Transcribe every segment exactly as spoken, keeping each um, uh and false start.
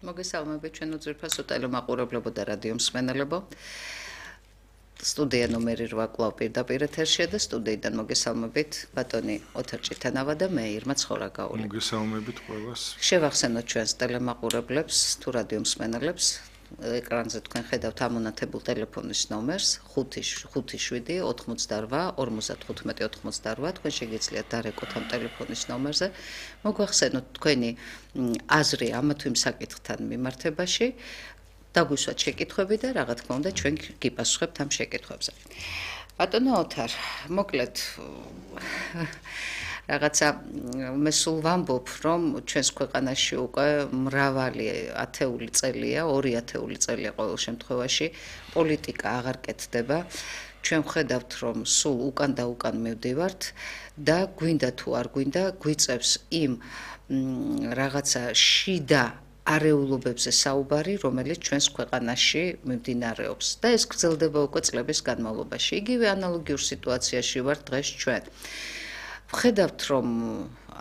მოგესალმებით ჩვენ უძვირფასო ტელემაყურებლებო და რადიო მსმენელებო. სტუდია ნომერი რვა კვლავ პირდაპირ ეთერშია და სტუდიიდან მოგესალმებით ბატონი ოთარ ჭიტანავა და მე ირმა ცხორაგაული. მოგესალმებით ყველას. შევახსენოთ ჩვენს ტელემაყურებლებს თუ რადიო მსმენელებს ეკრანზე თქვენ ხედავთ ამონათებულ ტელეფონის ნომერს ხუთი შვიდი ოთხმოცდარვა ორმოცდათხუთმეტი ოთხმოცდარვა თქვენ შეგიძლიათ დარეკოთ ამ ტელეფონის ნომერზე მოგვახსენოთ თქვენი აზრი ამა თუ იმ საკითხთან მიმართებაში დაგვისვათ შეკითხვები და რა თქმა უნდა ჩვენ გიპასუხებთ ამ შეკითხვებზე. ბატონო ოთარ, მოკლედ რაღაცა მე სულ ვამბობ, რომ ჩვენს ქვეყანაში უკვე მრავალი ათეული წელია, ორი ათეული წელია ყოველ შემთხვევაში პოლიტიკა აღარ კეთდება. ჩვენ ვხედავთ, რომ სულ უკან და უკან მივდივართ და გვინდა თუ არ გვინდა გვიწევს იმ რაღაცა შიდა არეულობებზე საუბარი, რომელიც ჩვენს ქვეყანაში მიმდინარეობს და ეს გრძელდება უკვე წლების განმავლობაში. იგივე ანალოგიურ სიტუაციაში ვართ დღეს ჩვენ. ვხედავთ, რომ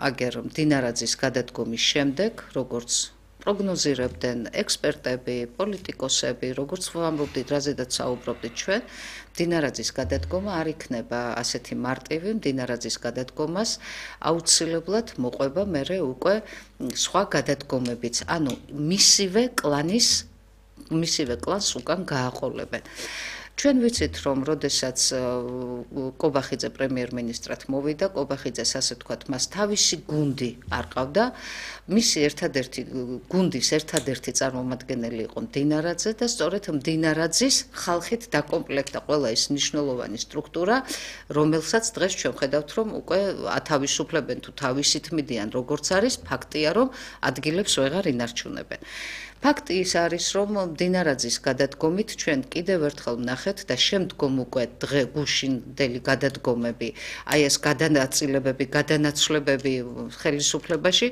აგერ მდინარაძის გადადგომის შემდეგ, როგორც პროგნოზირებდნენ ექსპერტები, პოლიტიკოსები, როგორც ვამბობდით, რაზედაც საუბრობდით ჩვენ, მდინარაძის გადადგომა არ იქნება ასეთი მარტივი, მდინარაძის გადადგომას აუცილებლად მოყვება მერე უკვე სხვა გადადგომებიც, ანუ მისივე კლანის, მისივე კლანს უკან გააყოლებენ. ჩვენ ვიცით, რომ როდესაც კობახიძე პრემიერ-მინისტრად მოვიდა, კობახიძეს ასე ვთქვათ, მას თავისი გუნდი არ ყავდა, მისი ერთადერთი გუნდის ერთადერთი წარმომადგენელი იყო მდინარაძე და სწორედ მდინარაძის ხალხით დაკომპლექტა ყველა ის მნიშვნელოვანი სტრუქტურა, რომელსაც დღეს ჩვენ ვხედავთ, რომ უკვე ათავისუფლებენ თუ თავისით მიდიან, როგორც არის, ფაქტია, რომ ადგილებს ვეღარ ინარჩუნებენ. ფაქტი ის არის, რომ მდინარაძის გადადგომით ჩვენ კიდევ ერთხელ ვნახეთ და შემდგომ უკვე დღე გუშინდელი გადადგომები, აი ეს გადანაწილებები, გადანაცვლებები ხელისუფლებაში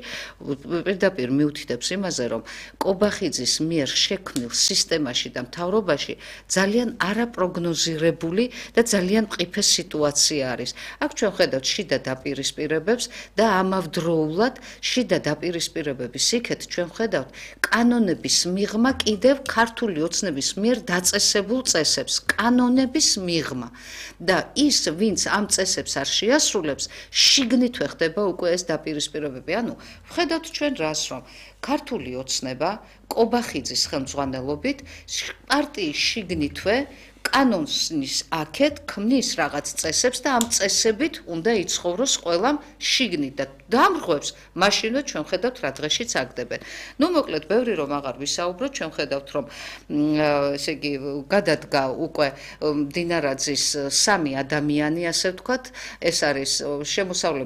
პირდაპირ მიუთითებს იმაზე, რომ კობახიძის მიერ შექმნილ სისტემაში და მთავრობაში ძალიან არაპროგნოზირებული და ძალიან მყიფე სიტუაცია არის. აქ ჩვენ ვხედავთ შიდა დაპირისპირებებს და ამავდროულად შიდა დაპირისპირებების იქეთ ჩვენ ვხედავთ კანონები მიღმა კიდევ ქართული ოცნების მიერ დაწესებულ წესებს, კანონების მიღმა და ის, ვინც ამ წესებს არ შეასრულებს, შიგნითვე ხდება უკვე ეს დაპირისპირებები. ანუ ვხედავთ ჩვენ რას, რომ ქართული ოცნება კობახიძის ხელმძღვანელობით პარტიის შიგნითვე კანონის აქეთ ქმნის რაღაც წესებს და ამ წესებით უნდა იცხოვროს ყველამ შიგნით და დამრღვევს მაშინვე ჩვენ ხედავთ რა დღეშიც აგდებენ. ნუ მოკლედ ბევრი რომ აღარ ვისაუბროთ, ჩვენ ხედავთ რომ ესე იგი გადადგა უკვე მდინარაძის სამი ადამიანი, ასე ვთქვათ, ეს არის შემოსავლების